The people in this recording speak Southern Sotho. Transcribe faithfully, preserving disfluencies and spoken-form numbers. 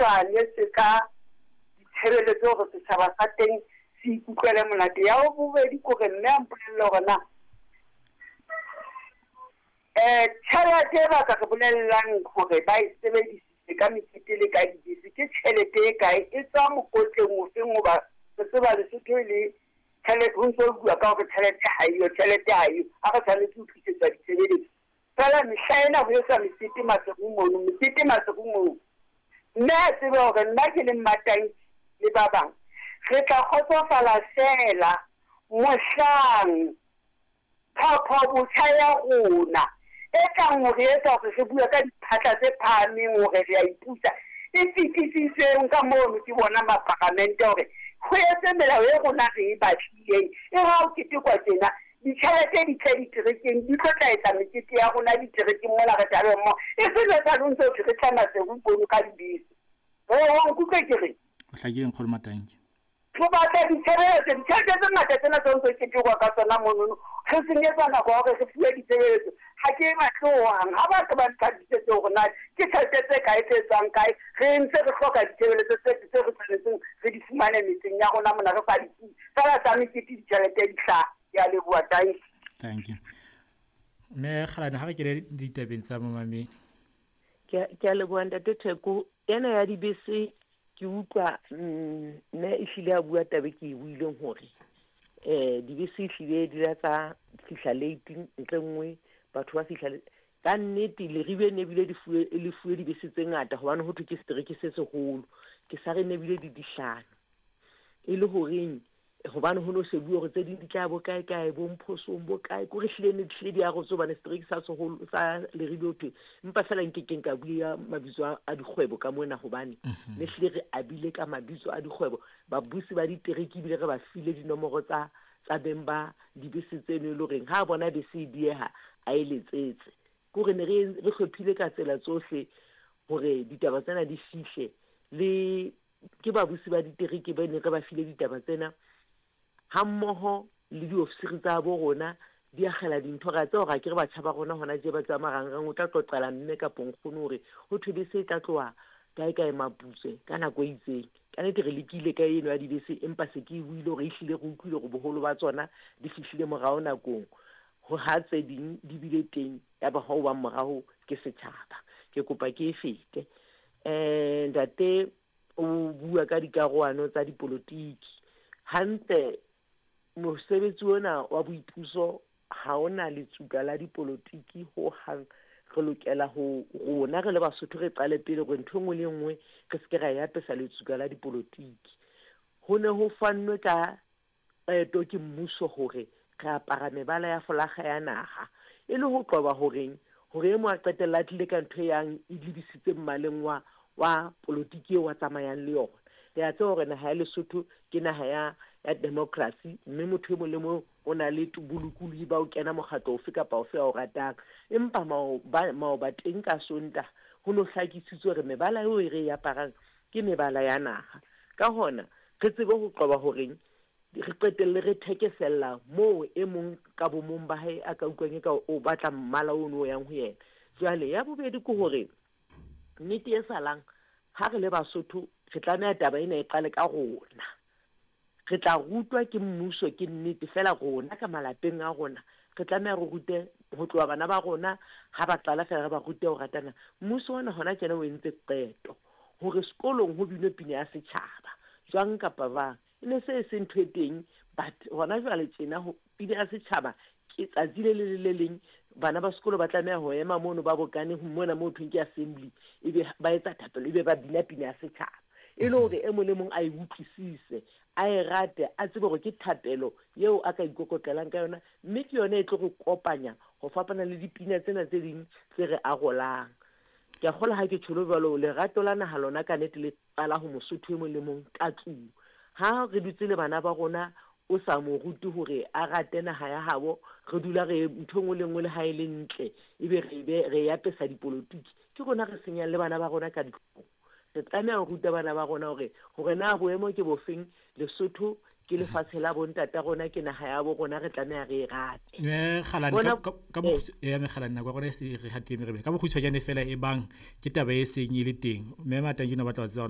Tshwane se ka ditshebeletso hore setjhaba sa teng se ikutlwele monate. Ya bobedi ke hore mme a mpolelle hore na eh tjhelete e ba ka re bolellang hore ba e sebedisitse ka mekete le ka dibese ke tjhelete e kae, e tswa mokotleng ofeng, hoba re tseba Lesotho e le tjhelete ho ntso bua ka hore tjhelete ha eyo, tjhelete ha eyo, ha re tshwanetse ho tlisetswa ditshebeletso. Fela mehla ena ho etswa mekete Maseru mono, mekete Maseru mono. Mme a tsebe hore nna ke le Mmatanki le ba bang re tla kgotsofala feela mohlang tlhopho botjha ya rona e tlang hore etsa hore re bue ka diphatla tse phahameng hore re a ipusa e fetisitsweng ka mono ke bona maparamente hore ho etse melao e rona re e batlileng e re ha o ketekwa tjena ditjhelete di tle diterekeng di tlo tla etsa mekete ya rona diterekeng mona re tlabe mmoho e se jwale o ntso thwe re tla Maseru mono ka dibese. Wa nkutlwe ke reng? O hlakile nkgono Matanki. Re batla ditshebeletso, ditjhelete tse ngata tsena tse ntse ketekwa ka tsona monono re senyetsa nako ya hore re fuwe ditshebeletso. Ha ke e batle hohang, ha ba ke ba ntlhakisetse hore na ke tjhelete tse kae tse tswang kae, re ntse re hloka ditshebeletso tse tse re tshwanetseng re di fumane metseng ya rona mona re sa di fuwe. Fela tsa mekete ditjhelete di hlaha. Ke a leboha, thank you. Thank you. Mme Kgalane, ha re kene ditabeng tsa momamedi. Ke a leboha ntate Theko. Ena ya dibese ke utlwa mme ehlile a bua taba ke e buileng hore eh dibese ehlile di la tsa fihla late ntle nngwe batho ba fihla ka nnete Leribe ne bile di fuwe le fuwe dibese tse ngata hobane ho thwe ke setereke se seholo ke sa re ne bile di dihlano e le horeng hobane ho no shebuwe hore tse ding di tla bo kae kae bo Mphosong bo kae ko re hlile ne hlile di arotse hobane setereke sa seholo sa Leribe ho thwe empa fela nkekeng ka bua mabitso a dikgwebo ka mona hobane ne hlile re abile ka mabitso a dikgwebo babusi ba ditereke ebile re ba file dinomoro tsa tsa beng ba dibese tseno e le horeng ha bona bese e dieha a e letsetse ke hore ne re re hlophile ka tsela tsohle hore ditaba tsena di fihle le ke babusi ba ditereke ba ne re ba file ditaba tsena hammoho le diofisiri tsa bo rona di akgela dintho. Re a tseba hore akere batjha ba rona hona tje ba tswa marangrang o tla qoqela mme kapo nkgono hore ho thwe bese e tla tloha kae kae Maputswe ka nako e itseng. Ka nnete re lekile ka eno ya dibese empa se ke e buile hore ehlile re utlwile hore boholo ba tsona di fihlile morao nakong ho ha tse ding di bile teng ya ba ho bang morao ke setjhaba. Ke kopa ke e fete. Eh ntate o bua ka dikarohano tsa dipolotiki hantle. Mosebetsi ona wa boipuso ha ona letsuka la dipolotiki ho hang. Re lokela ho rona re le Basotho re qale pele hore ntho e nngwe le nngwe re se ke ra e apesa letsuka la dipolotiki. Ho ne ho fannwe ka qeto ke mmuso hore re apara mebala ya folakga ya naha e le ho qoba horeng hore e mong a qetella a tlile ka ntho e yang e lebisitse mmaleng wa wa polotiki eo a tsamayang le yona. Re a tseba hore naha ya Lesotho ke naha ya ya democracy mme motho e mong le mong o na le bolokolohi ba ho kena mokgatlo ofe kapa ofe a o ratang. Empa maoba maoba teng ka Sontaha ho no hlakisitswe hore mebala eo e re e aparang ke mebala ya naha. Ka hona re tsebe ho qoba horeng re qetelle re thekesella moo e mong ka bomong ba hae a ka utlwang eka o batla mmala ono o yang ho yena. Jwale ya bobedi ke hore nnete e salang ha re le Basotho re tlameha taba ena e qale ka rona. Re tla rutwa ke mmuso ke nnete fela rona ka malapeng a rona re tlameha re rute ho tloha bana ba rona ha ba qala fela re ba rute ho ratana. Mmuso ona hona tjena o entse qeto hore sekolong ho binwe pina ya setjhaba jwang kapa bang e ne se e se ntho e teng but hona jwale tjena ho pina ya setjhaba ke tsatsi le le le leng bana ba sekolo ba tlameha ho ema mono ba bokane mona moo thweng ke assembly ebe ba etsa thapelo ebe ba bina pina ya setjhaba e le hore e mong le mong a e utlwisise a e rate a tsebe hore ke thapelo eo a ka ikokotlelang ka yona mme ke yona e tlo re kopanya ho fapana le dipina tsena tse ding tse re arolang. Ke a kgolwa ha ke tjholo jwalo lerato la naha lona ka nnete le qala ho Mosotho e mong le mong ka tlung. Ha re dutse le bana ba rona o sa mo rute hore a rate naha ya habo re dula re ntho e nngwe le nngwe le ha e le ntle ebe re be re e apesa dipolotiki ke rona re senyang le bana ba rona ka ditlung. Re tlameha ho ruta bana ba rona hore hore na boemo ke bofeng Lesotho ke lefatshe la bontata rona ke naha ya bo rona re tlameha re e rate. Eh Kgalane ka ka ya Mekgalane nako ya rona e se re hatile merebele ka bokgutshwanyane fela e bang ke taba e seng e le teng mme Matanki o batla ho tseba hore